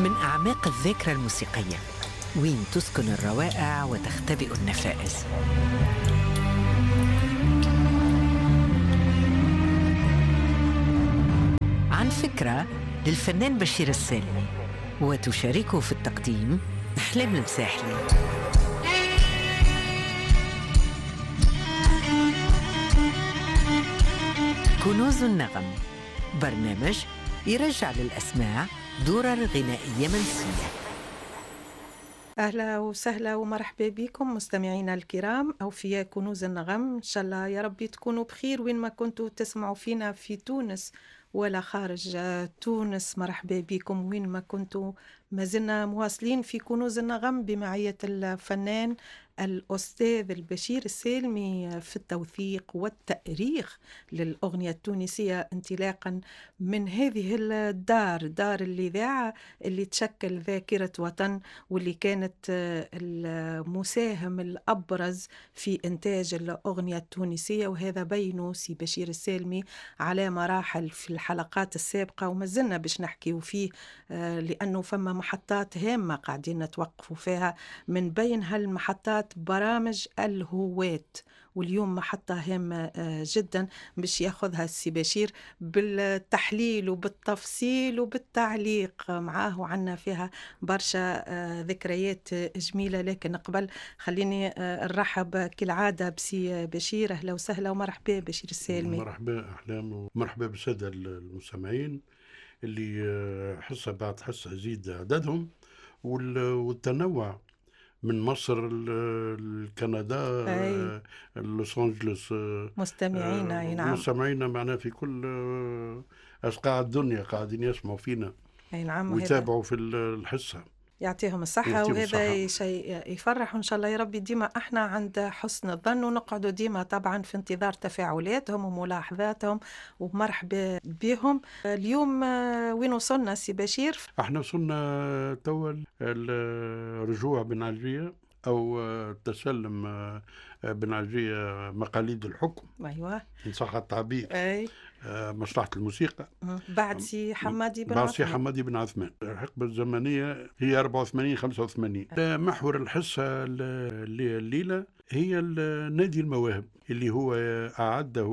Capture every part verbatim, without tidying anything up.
من أعماق الذاكرة الموسيقية وين تسكن الروائع وتختبئ النفائس. عن فكرة للفنان بشير السالمي، وتشاركه في التقديم أحلام المساحلي. كنوز النغم، برنامج يرجع للأسماع درر غنائية منسية. أهلا وسهلا ومرحبا بكم مستمعينا الكرام أوفياء كنوز النغم. إن شاء الله يا ربي تكونوا بخير وين ما كنتوا تسمعوا فينا في تونس ولا خارج تونس. مرحبا بكم وين ما كنتوا. ما زلنا مواصلين في كنوز النغم بمعية الفنان الأستاذ البشير السالمي في التوثيق والتأريخ للأغنية التونسية، انطلاقا من هذه الدار، دار الإذاعة اللي تشكل ذاكرة وطن واللي كانت المساهم الأبرز في إنتاج الأغنية التونسية، وهذا بينه سي بشير السالمي على مراحل في الحلقات السابقة وما زلنا باش نحكيو فيه، لأنه فما محطات هامة قاعدين نتوقفوا فيها، من بين هالمحطات برامج الهواة، واليوم محطة هامة جدا باش ياخذها السي بشير بالتحليل وبالتفصيل وبالتعليق معاه، وعنا فيها برشا ذكريات جميلة. لكن قبل خليني نرحب كالعادة بسي بشير. أهلا وسهلا ومرحبا بشير السالمي. مرحبا أحلام ومرحبا بالسادة المستمعين اللي حصة بعد حصة يزيد عددهم والتنوع من مصر لكندا لوس أنجلوس. مستمعينا نعم، مستمعينا معنا في كل أصقاع الدنيا قاعدين يسمعوا فينا. أي نعم، ويتابعوا في الحصة. يعطيهم الصحة، وهذا شيء يفرح، وإن شاء الله يا ربي ديما احنا عند حسن الظن، ونقعدوا ديما طبعا في انتظار تفاعلاتهم وملاحظاتهم ومرحبا بهم. اليوم وين وصلنا سي بشير؟ احنا وصلنا توا الرجوع بن علجية أو تسلم بن علجية مقاليد الحكم. أيوة، إن صح التعبير. أي. مصلحة الموسيقى بعد سي حمادي بن بعد سي حمادي بن عثمان. الحقبة الزمنية هي أربعة وثمانين خمسة وثمانين. محور الحصة الليلة هي نادي المواهب اللي هو أعده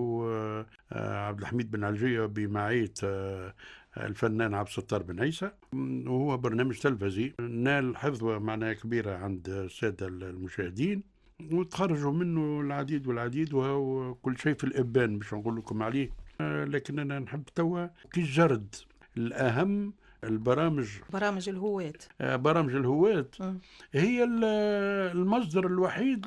عبد الحميد بن علجية بمعية الفنان عبد الستار بن عيسى، وهو برنامج تلفزي نال حظوة معناها كبيرة عند السادة المشاهدين، وتخرجوا منه العديد والعديد، وهو كل شيء في الإبان باش نقول لكم عليه. لكن أنا نحب توا كي الجرد الأهم البرامج، برامج الهواة. برامج الهواة هي المصدر الوحيد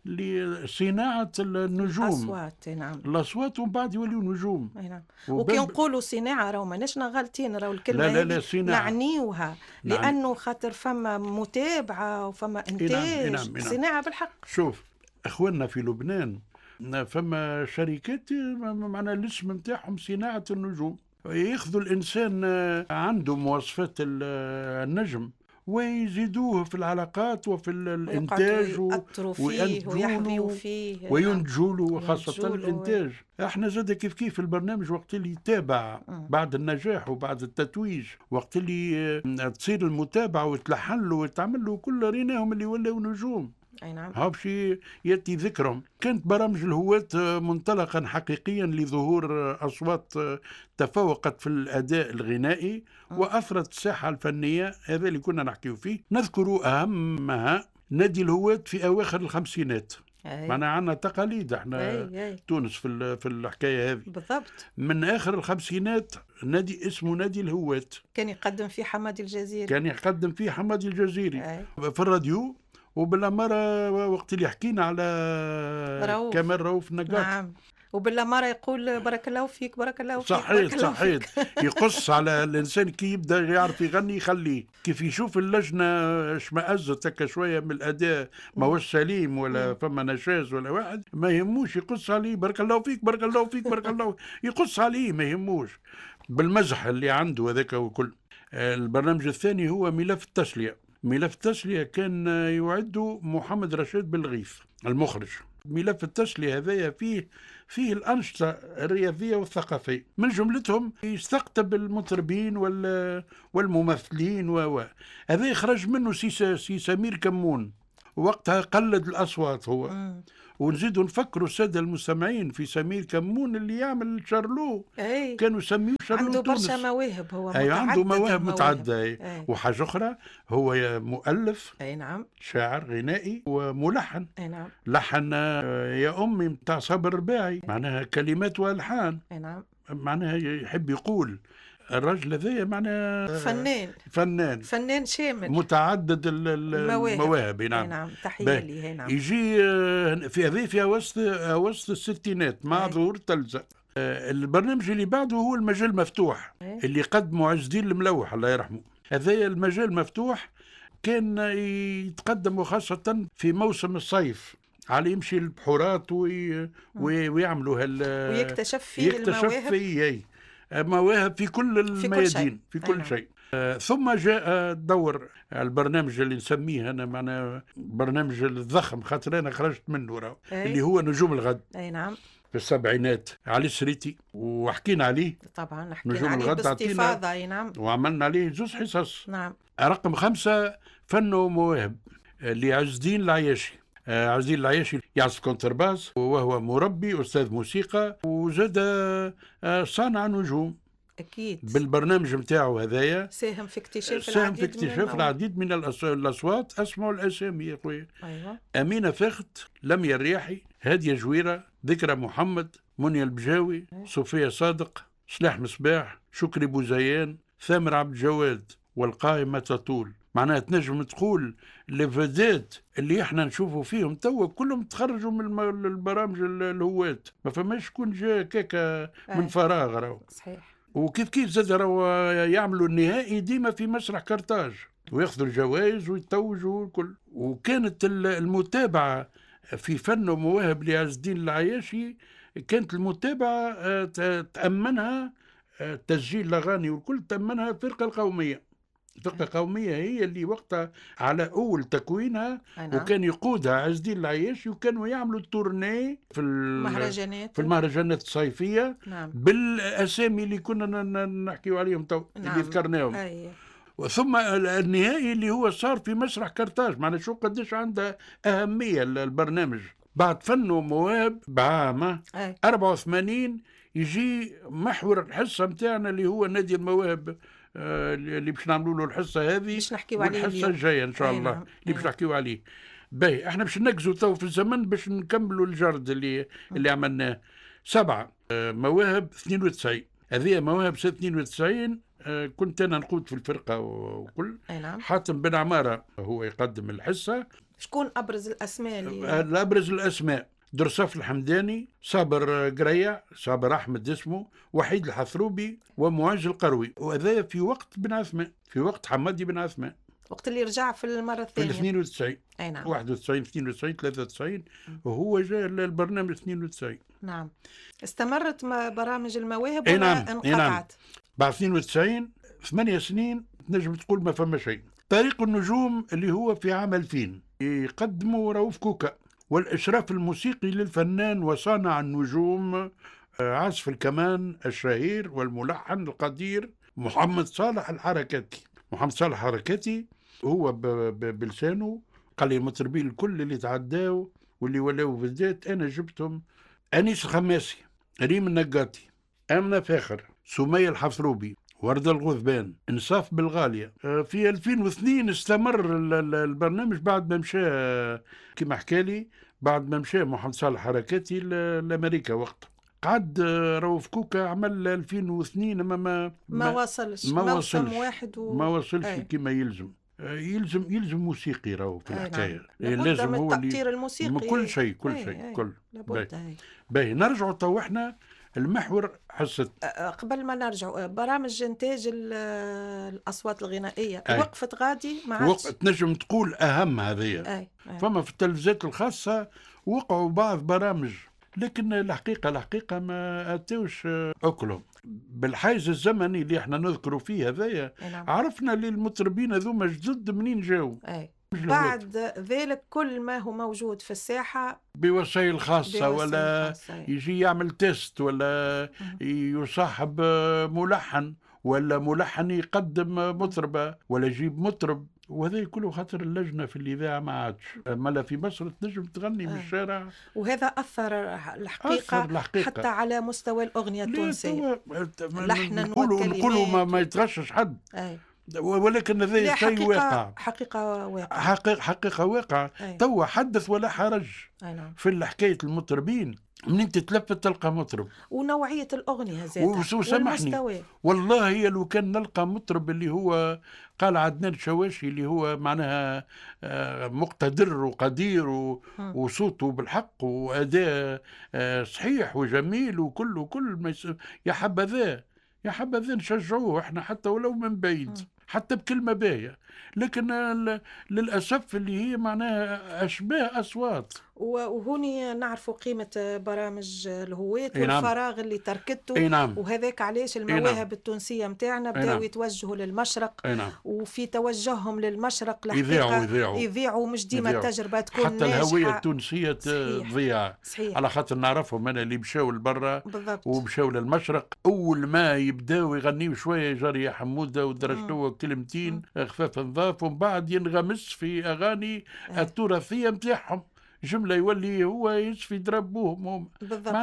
لصناعة النجوم، الأصوات. نعم، الأصوات، ومن بعد يوليو نجوم. نعم، وكي نقولوا صناعة راهو ماناش غالطين، راهو الكلمة لا لا لا صناعة نعنيوها. نعم. لأنه خاطر فما متابعة وفما إنتاج. نعم. نعم. نعم. صناعة بالحق. شوف أخواننا في لبنان فما شركات معنا الاسم نتاعهم صناعة النجوم، ياخذوا الإنسان عنده مواصفات النجم ويزيدوه في العلاقات وفي الإنتاج ويحظيوا فيه وينتجوا له، خاصة الإنتاج. احنا زاد كيف كيف البرنامج وقت اللي يتابع بعد النجاح وبعد التتويج، وقت اللي تصير المتابعة وتلحن له وتعمل له كل، ريناهم اللي ولاو نجوم. أي نعم، هاو باش يأتي ذكرهم. كانت برامج الهواة منطلقا حقيقيا لظهور أصوات تفوقت في الأداء الغنائي وأثرت الساحة الفنية، هذا اللي كنا نحكيه فيه. نذكر أهمها نادي الهواة في أواخر الخمسينات. معنا عندنا تقاليد احنا. أي أي. تونس في في الحكاية هذه بالضبط. من اخر الخمسينات نادي اسمه نادي الهواة كان يقدم فيه حمادي الجزيري. كان يقدم فيه حمادي الجزيري. أي. في الراديو، وبالأمارة وقت اللي حكينا على رؤوف. كمال رؤوف نقاط. نعم، وبالأمارة يقول بارك الله فيك بارك الله فيك. صحيح صحيح. يقص على الإنسان كي يبدأ يعرف يغني يخليه، كيف يشوف اللجنة اشمأزت هكا شوية من الأداء ما هوش سليم ولا فما نشاز ولا واحد، ما يهموش يقص عليه بارك الله فيك بارك الله فيك بارك الله، يقص عليه ما يهموش بالمزح اللي عنده هذاك. وكل البرنامج الثاني هو ملف التسلية. ملف التسلية كان يعد محمد رشيد بالغيث المخرج. ملف التسلية هذايا فيه فيه الأنشطة الرياضية والثقافية، من جملتهم يستقطب المطربين والممثلين و هذا يخرج منه سي, سي سمير كمون، وقتها قلد الأصوات هو. مم. ونزيدوا نفكروا السادة المستمعين في سمير كمون اللي يعمل شارلو. أي. كانوا يسميوه شارلو. عنده برشا مواهب هو. أي عنده مواهب متعددة. أي. وحاجة أخرى هو مؤلف. أي نعم. شاعر غنائي وملحن. أي نعم. لحن يا أمي متاع صابر الرباعي، معناها كلمات وألحان. أي نعم. معناها يحب يقول الرجل هذايا معناها فنان فنان فنان شامل متعدد المواهب. نعم. نعم تحية ليه. نعم. يجي في هذه في وسط وسط الستينات مع ظهور التلفزة. البرنامج اللي بعده هو المجال مفتوح اللي قدمه عز الدين الملوح الله يرحمه. هذايا المجال مفتوح كان يتقدم وخاصة في موسم الصيف، على يمشي البحورات وي... ويعملوا هال ويكتشف فيه يكتشف المواهب. فيه مواهب في كل الميادين، في كل شيء. آه ثم جاء دور البرنامج اللي نسميه انا معنا برنامج الضخم، خاطر انا خرجت منه راه، اللي هو نجوم الغد. اي نعم. في السبعينات علي السريتي، وحكينا عليه طبعا، حكينا عليه باستفاضة. اي نعم. وعملنا عليه زوج حصص. نعم. رقم خمسة فن ومواهب لعز الدين العياشي. عز الدين العياشي يعزف كونترباس وهو مربي أستاذ موسيقى، وزاد صانع نجوم. أكيد. بالبرنامج نتاعو هذايا ساهم في اكتشاف ساهم العديد في اكتشاف من العديد من الأصوات. أسمعوا الأسامي يا خويا. أيوة. أمينة فخت، لميا الرياحي، هادية جويرة، ذكرى محمد، منيا البجاوي، أيوة. صوفيا صادق، سلاح مصباح، شكري بوزيان، ثامر عبد الجواد، والقائمة تطول. معناها تنجم تقول les vedettes اللي احنا نشوفوا فيهم توا كلهم تخرجوا من البرامج الهوات، ما فماش شكون جا كاكا من فراغ راهو. صحيح. وكيف كيف زاد راهو يعملوا النهائي ديما في مسرح كرتاج وياخذوا الجوائز ويتوجوا الكل. وكانت المتابعة في فن ومواهب لعز الدين العياشي، كانت المتابعة تأمنها تسجيل الأغاني والكل، تأمنها الفرقة القومية. الفرقة القومية هي اللي وقتها على أول تكوينها، وكان يقودها عز الدين العياشي، وكانوا يعملوا ال tournée في المهرجانات في المهرجانات الصيفية. نعم. بالأسامي اللي كنا نحكيو عليهم تو. نعم. اللي ذكرناهم. أي. ثم النهائي اللي هو صار في مسرح كرتاج، معناها شو قديش عنده أهمية البرنامج. بعد فن ومواهب بعام أربعة وثمانين يجي محور الحصة متاعنا اللي هو نادي المواهب، اللي باش نعملوا له الحصة هذه، باش نحكيو عليه الحصة الجاية ان شاء الله. نعم. اللي باش نحكيو عليه. باهي احنا باش نركزوا تو في الزمن باش نكملوا الجرد اللي اللي عملناه. سبعة مواهب اثنين وتسعين، هذه مواهب اثنين وتسعين كنت انا نقود في الفرقة وكل. نعم. حاتم بن عمارة هو يقدم الحصة. شكون ابرز الاسماء اللي ابرز الاسماء؟ درصاف الحمداني، صابر قريع، صابر أحمد اسمه، وحيد الحثروبي، ومعز القروي. وهذا في وقت بن عثمان، في وقت حمادي بن عثمان، وقت اللي رجع في المرة الثانية في اثنين وتسعين. أي نعم. واحد وتسعين اثنين وتسعين ثلاثة وتسعين، وهو جاء البرنامج اثنين وتسعين. نعم. استمرت برامج المواهب ولا نعم. انقطعت؟ نعم. بعد اثنين وتسعين ثمانية سنين تنجم تقول ما فما شيء. طريق النجوم اللي هو في عام ألفين يقدموا رؤوف كوكا، والإشراف الموسيقي للفنان وصانع النجوم عازف الكمان الشهير والملحن القدير محمد صالح الحركاتي. محمد صالح الحركاتي هو بلسانه قال لي المطربين الكل اللي تعداو واللي ولاو بالذات أنا جبتهم: أنيس الخماسي، ريم النقاطي، آمنة فاخر، سمية الحفروبي، وردة الغذبان، إنصاف بالغالية. في ألفين واثنين استمر البرنامج بعد ما مشى، كما حكالي، بعد ما مشى محمد صالح حركاتي لأمريكا وقتها. قعد رؤوف كوكا عمل ألفين واثنين ما ما ما وصلش، ما وصلش واحد و... ما وصلش كما يلزم. يلزم يلزم موسيقي راهو في الحكاية. نعم. لازم هو التأطير الموسيقي، كل شيء، كل أي شيء أي. كل لابد. باهي نرجعوا تو احنا المحور حصة. قبل ما نرجع، برامج انتاج الاصوات الغنائية أي. وقفت غادي ما عادش وقت نجم تقول اهم هذه. فما في التلفزيات الخاصة وقعوا بعض برامج، لكن الحقيقة الحقيقة ما اتوش اكلهم بالحيز الزمني اللي احنا نذكروا فيه هذايا. نعم. عرفنا اللي المطربين هذوما جدد منين جاوا. أي. بعد ذلك كل ما هو موجود في الساحة بوسائل خاصة، بوسائل ولا خاصة. يجي يعمل test، ولا يصاحب ملحن، ولا ملحن يقدم مطربة، ولا يجيب مطرب، وهذا كله خاطر اللجنة في الإذاعة ما عادش. مالا في مصر تنجم تغني من آه. الشارع. وهذا أثر الحقيقة, أثر الحقيقة حتى على مستوى الأغنية التونسية، لحنا نقولوا نقولوا ما, ما يتغشش حد. أي. ولكن هذا شيء واقع، حقيقة واقع، حقيقة, حقيقة واقع. توا حدث ولا حرج. أي نعم. في حكاية المطربين منين تتلفت تلقى مطرب، ونوعية الأغنية زادة وسامحني والله لو كان نلقى مطرب اللي هو قال عدنان شواشي اللي هو معناها مقتدر وقدير وصوته بالحق وأداء صحيح وجميل وكل وكل ما يا حبذا يا حبذا نشجعوه احنا حتى ولو من بعيد، حتى بكلمة باهية. لكن للأسف اللي هي معناها أشباه أصوات. وهوني نعرفوا قيمة برامج الهواة والفراغ اللي تركته. نعم. وهذاك علاش المواهب التونسية متاعنا بداوا نعم. يتوجهوا للمشرق. نعم. وفي توجههم للمشرق الحقيقة يذيعوا يذيعوا يذيعوا مش ديما التجربة تكون حتى ناجحة. الهوية التونسية تضيع. على خاطر نعرفهم أنا اللي مشاو لبرا ومشاو للمشرق، أول ما يبداو يغنيوا شوية جاري يا حمودة ودرجتوا كلمتين خفاف نظاف، ومن بعد ينغمس في أغاني التراثية متاعهم جملة، يولي هو يشفي دربوهم. بالضبط.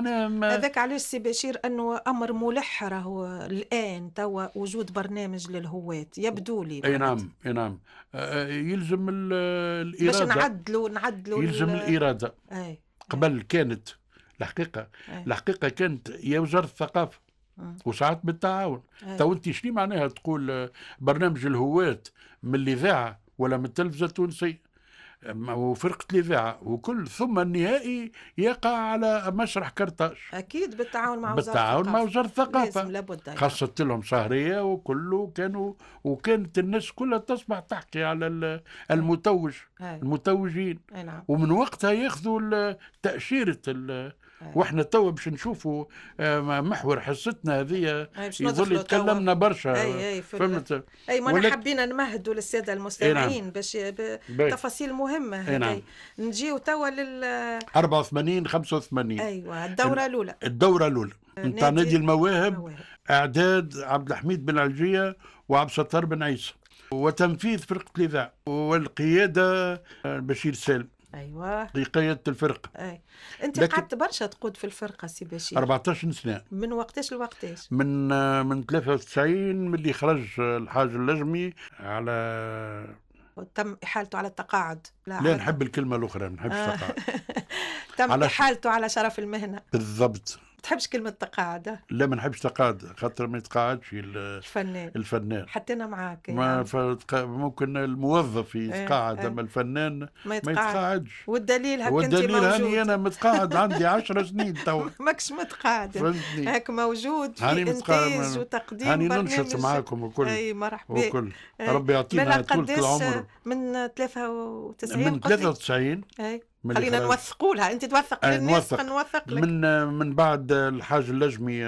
هذاك علاش سي بشير أنه أمر ملح راهو الآن توا وجود برنامج للهواة يبدو لي. أي نعم أي نعم، يلزم الإرادة باش نعدلوا نعدلوا يلزم الإرادة. أي. قبل كانت الحقيقة أي. الحقيقة كانت يا وزارة الثقافة وساعات بالتعاون. تو أنت شنو معناها تقول برنامج الهواة من الإذاعة ولا من التلفزة التونسية وفرقة الإذاعة وكل، ثم النهائي يقع على مسرح كرتاج. أكيد بالتعاون مع وزارة بالتعاون مع وزارة الثقافة. لازم لابد. خاصة لهم شهرية وكله كانوا، وكانت الناس كلها تصبح تحكي على المتوج. هاي. المتوجين. أي نعم. ومن وقتها ياخذوا تأشيرة ال... واحنا توا باش نشوفوا محور حصتنا هذه يظل يتكلمنا برشا. أي أي فهمت. اي ما ولك... حبينا نمهدوا للسادة المستمعين نعم. باش تفاصيل مهمة. أي نعم. نجيو توا لل أربعة وثمانين خمسة وثمانين. ايوه الدورة الاولى. الدورة الاولى نتاع نادي المواهب، اعداد عبد الحميد بن علجيه وعبد الستار بن عيسى، وتنفيذ فرقه الاذاعة والقيادة بشير سالم. ايوه قيادة الفرقة. اي انت قعدت برشا تقود في الفرقة سي بشير. أربعطاش سنة. من وقتاش لوقتاش؟ من من ثلاثة وتسعين من اللي خرج الحاج اللجمي على تم احالته على التقاعد. لا, لا نحب الكلمة الاخرى، ما نحبش التقاعد. تم على احالته على شرف المهنة. بالضبط. تحبش كلمة تقاعد؟ لا ما نحبش تقاعد، خاطر ما يتقاعدش الفنان. الفنان حتى أنا معاك. ما فتق... ممكن الموظف يتقاعد، ايه. أما الفنان ما, ما يتقاعدش. والدليل هك أنت والدليل موجود. هاني أنا متقاعد عندي عشر سنين تو. ماكش متقاعد، فهمتني؟ هاك موجود في إنتاج وتقديم هاني برنامج. ننشط معاكم وكل. أي مرحبا وكل. ربي يعطينا طولة العمر. من ثلاثة وتسعين من ثلاثة وتسعين. أي خلينا نوثقوا لها، انت توثق للناس نوثق لك. من من بعد الحاج اللجمي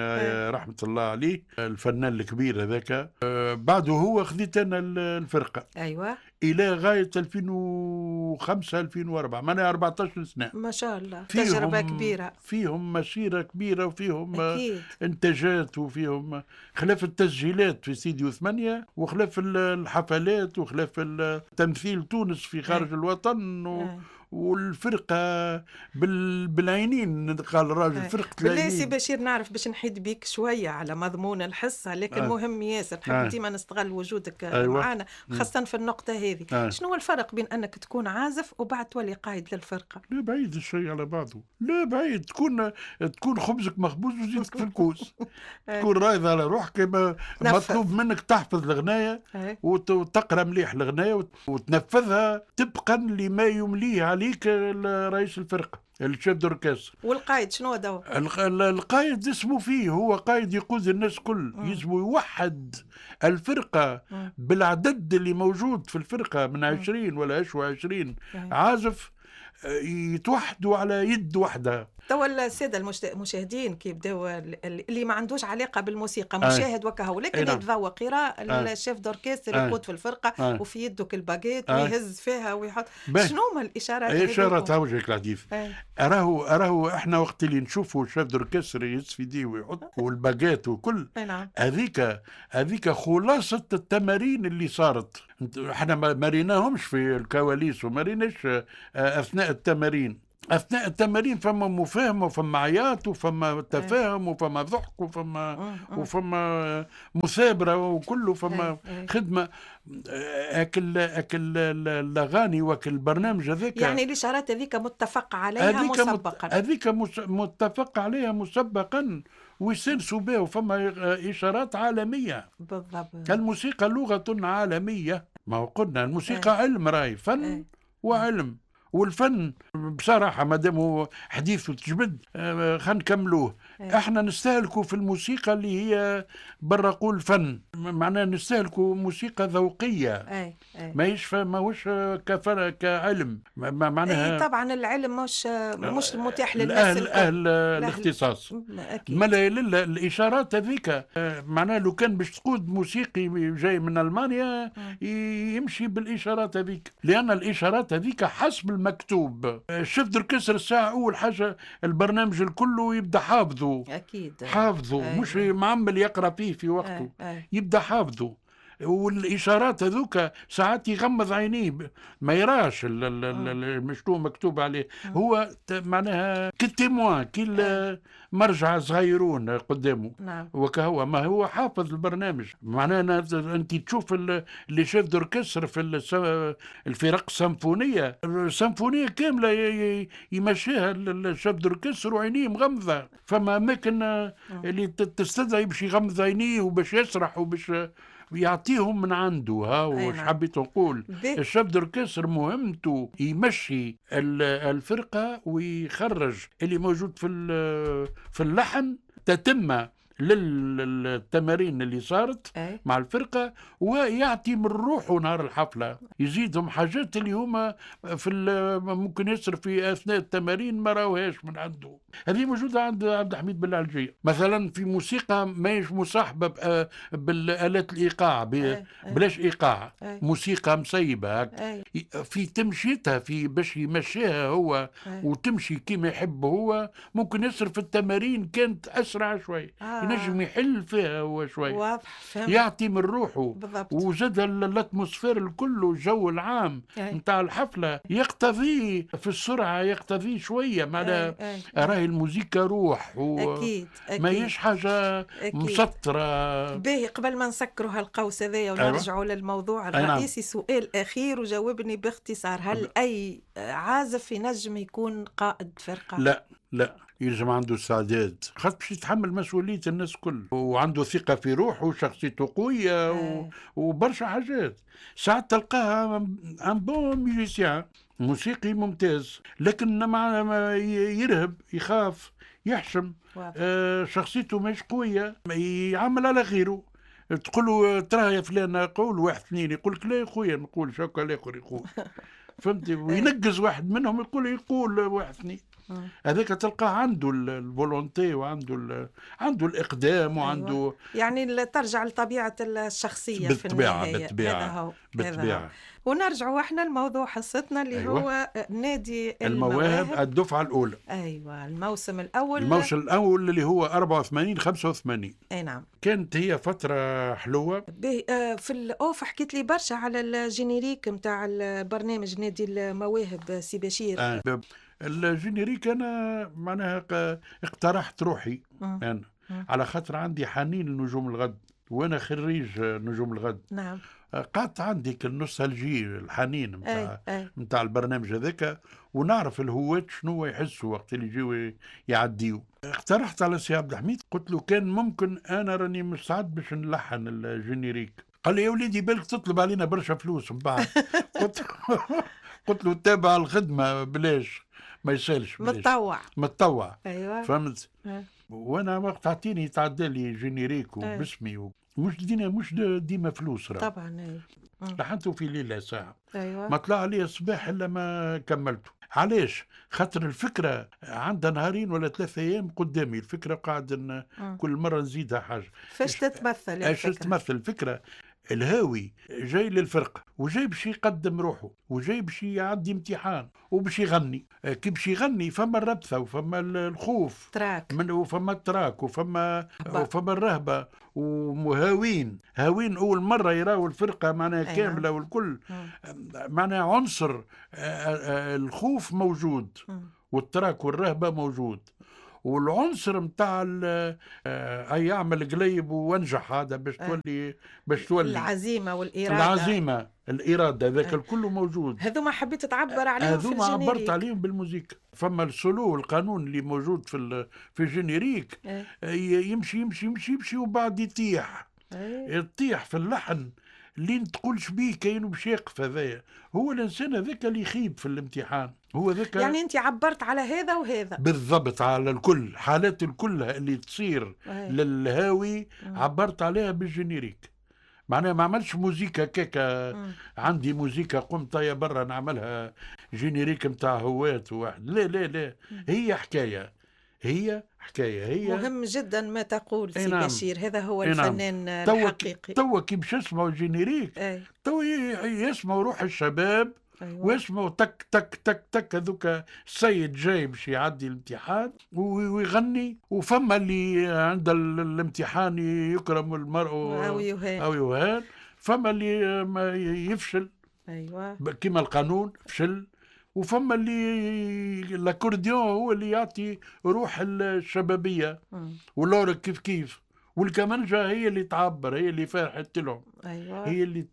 رحمه الله عليه الفنان الكبير هذاك، بعده هو خذيت انا الفرقة. ايوه الى غاية ألفين وخمسة ألفين وأربعة، معناها أربعطاش سنة. ما شاء الله تجربه كبيرة، فيهم مسيره كبيرة وفيهم أكيد. انتاجات وفيهم خلاف التسجيلات في استديو ثمانية، وخلاف الحفلات، وخلاف تمثيل تونس في خارج أي. الوطن و... أي. والفرقة بال... بالعينين، قال الراجل فرقه العينين. بالله سي بشير نعرف باش نحيد بيك شوية على مضمون الحصة، لكن آه. مهم ياسر، نحب آه. ديما نستغل وجودك أيوة. معنا خاصة في النقطة هذه. آه. شنو هو الفرق بين انك تكون عازف وبعد تولي قائد للفرقة؟ لا بعيد الشيء على بعضه، لا بعيد. تكون تكون خبزك مخبوز وزيتك في الكوز، تكون رايض على روحك، مطلوب منك تحفظ الغنايه وتقرا مليح الغنايه وتنفذها طبقا لما يمليه عليك رئيس الفرقة ال chef d'orchestre. والقائد شنو دور؟ القائد اسمه فيه هو قائد يقود الناس كل، يجب يوحد الفرقة مم. بالعدد اللي موجود في الفرقة من عشرين ولا عشرة وعشرين مم. عازف. يتوحدوا على يد واحدة. توا السادة المشاهدين كي يبداو اللي ما عندوش علاقة بالموسيقى مشاهد وكهو، لكن يتذوق يرى ال chef d'orchestre يقود في الفرقة وفي يده الباجيت ويهز فيها ويحط، شنو هما الاشارات؟ الاشارات وجهك الحديث. راهو راهو احنا وقت اللي نشوفوا ال chef d'orchestre يهز في يديه ويحط والباجيت وكل، هذيك هذيك خلاصه التمارين اللي صارت. احنا ما ريناهمش في الكواليس وما ريناش اثناء التمارين. اثناء التمارين فما مفاهمه وفما عياط وفما تفاهم وفما ضحك وفما وفما مثابره وكله، فما خدمة اكل اكل الاغاني واكل البرنامج هذاك. يعني الاشارات هذيك متفق عليها مسبقا، هذيك متفق عليها مسبقا ويسلسوا بها، وفما اشارات عالمية. بالضبط. الموسيقى لغة عالمية، ما هو قلنا الموسيقى علم، راي فن وعلم، والفن بصراحة ما دام هو حديث وتجبد خلينا نكملوه. احنا نستهلكوا في الموسيقى اللي هي برا قول فن، معناها نستهلكوا موسيقى ذوقية، ماهيش ماهوش كفن كعلم، معناها أي طبعا العلم مش مش متاح للناس اهل اهل الاختصاص. ما لا الاشارات هذيك معناها لو كان باش تقود موسيقي جاي من المانيا يمشي بالاشارات هذيك، لان الاشارات هذيك حسب المكتوب. chef d'orchestre الساعة أول حاجة البرنامج الكل يبدأ حافظه، أكيد حافظه. أيه. مش معمل يقرأ فيه في وقته. أيه. يبدأ حافظه، والإشارات هذوك ساعات يغمض عينيه ما يراش المشتو مكتوب عليه. هو معناها كي témoin، كي مرجع صغيرون قدامه. نعم. وكهو ما هو حافظ البرنامج. معناها انت تشوف les chefs d'orchestre في الفرق السيمفونية، السيمفونية كاملة يمشيها ال chef d'orchestre وعينيه مغمضه. فما اماكن اللي تستدعي باش يغمض عينيه وباش يسرح وباش يعطيهم من عنده. ها واش حبيت نقول، ال chef d'orchestre مهمته يمشي الفرقة ويخرج اللي موجود في في اللحن تتم للتمارين اللي صارت أي. مع الفرقة، ويعطي من روحه نهار الحفلة، يزيدهم حاجات اللي هما في ممكن يصير في أثناء التمارين ما راوهاش من عنده. هذه موجودة عند عبد الحميد بالعلجية مثلا في موسيقى ماهيش مصاحبة بالآلات الإيقاع، بلاش إيقاع، أي. موسيقى مسيبة أي. في تمشيتها، في باش يمشيها هو أي. وتمشي كما يحب هو. ممكن يصير في التمارين كانت أسرع شوي، آه. ينجم يحل فيها هو شوي، واضح، فهمت. يعطي من روحه بالضبط. وزاد ال atmosphère الكل والجو العام نتاع الحفلة يقتضي في السرعة، يقتضي شوية معناها راهي الموسيقى روح و... أكيد. أكيد. ماهيش حاجة أكيد. مسطرة. باهي، قبل ما نسكروا هالقوس هذايا ونرجعوا أيوة. للموضوع الرئيسي، سؤال أخير وجاوبني باختصار، هل أي عازف ينجم يكون قائد فرقة؟ لا لا، يلزم عنده استعداد، خاطر باش يتحمل مسؤولية الناس الكل، وعنده ثقة في روحه وشخصيته قوية و... وبرشا حاجات. ساعات تلقاها un bon musicien، موسيقي ممتاز، لكن مع يرهب، يخاف، يحشم، آه شخصيته مش قوية، يعمل على غيره. تقول له ترى يا فلان قول واحد اثنين، يقول لك لا يا خويا نقول شكا الاخر يقول، فهمتي؟ وينقز واحد منهم يقول يقول واحد اثنين. هذاك تلقاه عنده ال volonté وعنده عنده الاقدام وعنده. أيوة. يعني ترجع لطبيعة الشخصية بالطبيعة في النهاية. بالطبيعة بالطبيعة. ونرجعوا احنا لموضوع حصتنا اللي أيوة. هو نادي المواهب, المواهب الدفعة الاولى. ايوه، الموسم الاول، الموسم الاول اللي هو أربعة وثمانين خمسة وثمانين. اي نعم، كانت هي فترة حلوة. في ال off حكيت لي برشا على ال générique نتاع البرنامج نادي المواهب سي بشير. آه. ال générique انا معناها اقترحت روحي انا على خاطر عندي حنين لنجوم الغد، وانا خريج نجوم الغد. نعم. قعدت عندي ال nostalgie، الحنين نتاع نتاع البرنامج هذاك، ونعرف الهواة شنو يحسوا وقت اللي يجيو يعديو. اقترحت على سي عبد الحميد، قلت له كان ممكن انا راني مستعد باش نلحن ال générique. قال لي يا وليدي بالك تطلب علينا برشا فلوس من بعد. قلت قلت له تابع الخدمة بلاش، ما يسالش، متطوع متطوع. ايوه، فهمت. أه. وانا وقت عطيني تعدى لي générique وباسمي مش دينا مش ديما فلوس راه. طبعا اي. لحنته في ليلة ساعة. ايوه. ما طلع لي الصباح الا ما كملته. علاش؟ خاطر الفكرة عندها نهارين ولا ثلاثة ايام قدامي، الفكرة قاعد كل مرة نزيدها حاجة. فاش تتمثل الفكرة؟ اش تتمثل الفكرة؟ الهاوي جاي للفرقة وجاي باش يقدم روحه وجاي باش يعدي امتحان وباش يغني. كي باش يغني فما الربثة وفما الخوف trac من وفما ال trac وفما وفما الرهبة، ومهاوين هاوين أول مرة يراو الفرقة معناها كاملة والكل معناها عنصر الخوف موجود وال trac والرهبة موجود، والعنصر نتاع اي يعمل قليب وانجح هذا باش تولي باش تولي العزيمة والارادة، العزيمة الارادة ذاك الكل موجود. هذوما حبيت تعبر عليهم في هذوما ال générique. عبرت عليهم بالموسيقى. فما السولو القانون اللي موجود في في ال générique يمشي يمشي يمشي يمشي وبعد يطيح يطيح في اللحن لين تقولش بيه كاينو باش يقف. هذايا هو الانسان هذاك اللي يخيب في الامتحان، هو ذاك. يعني انت عبرت على هذا وهذا بالضبط، على الكل، حالات الكل اللي تصير أي. للهاوي عبرت عليها بال générique. معناها ما عملش موزيكا كيكا، عندي موزيكا قمت يا برا نعملها générique نتاع هوات واحد، لا لا لا، هي حكاية، هي حكاية. هي مهم جدا ما تقول سي نعم. بشير، هذا هو نعم. الفنان توا الحقيقي. توا كي باش يسمعوا ال générique أي. توا يسمعوا روح الشباب. أيوة. ويسمعوا تك تك تك تك هذوك السيد جاي باش يعدي الامتحان ويغني، وفما اللي عند الامتحان يكرم المرء أو يهان، أو يهان، فما اللي ما يفشل. أيوة. كيما القانون فشل، وفما اللي l'accordéon هو اللي يعطي روح الشبابية، وال l'orgue كيف كيف، والكمانجة هي اللي تعبر، هي اللي فرحت لهم. أيوة. هي اللي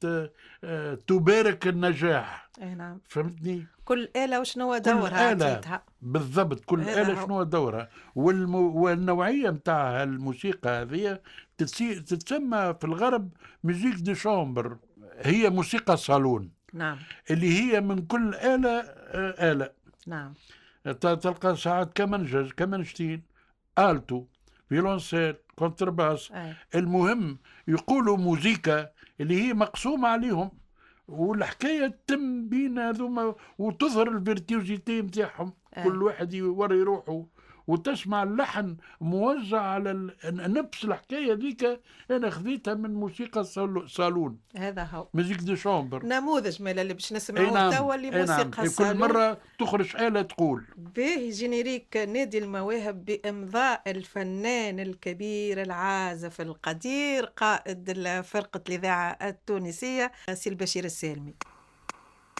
تبارك النجاح. أي نعم. فهمتني؟ كل آلة وشنو دورها عطيتها. بالضبط، كل آلة شنو دورها. والم... والنوعية متاع الموسيقى هذه تتسي... تتسمى في الغرب musique de chambre، هي موسيقى صالون. نعم. اللي هي من كل آلة آلة. نعم. تلقى ساعات كمانجة، كمانجتين، alto، violoncelle، contrebasse. أي. المهم يقولوا موزيكا اللي هي مقسومة عليهم، والحكاية تتم بين هذوما وتظهر ال virtuosité نتاعهم. كل واحد يوري روحه، وتسمع اللحن موزع على ال... نفس الحكاية ذيك انا خذيتها من موسيقى صالون. هذا هو musique de chambre، نموذج مال اللي باش نسمعوه توا اللي موسيقى نعم. الصالون. كل مرة تخرج آلة تقول به générique نادي المواهب بامضاء الفنان الكبير العازف القدير قائد فرقه الاذاعة التونسية سي البشير السالمي.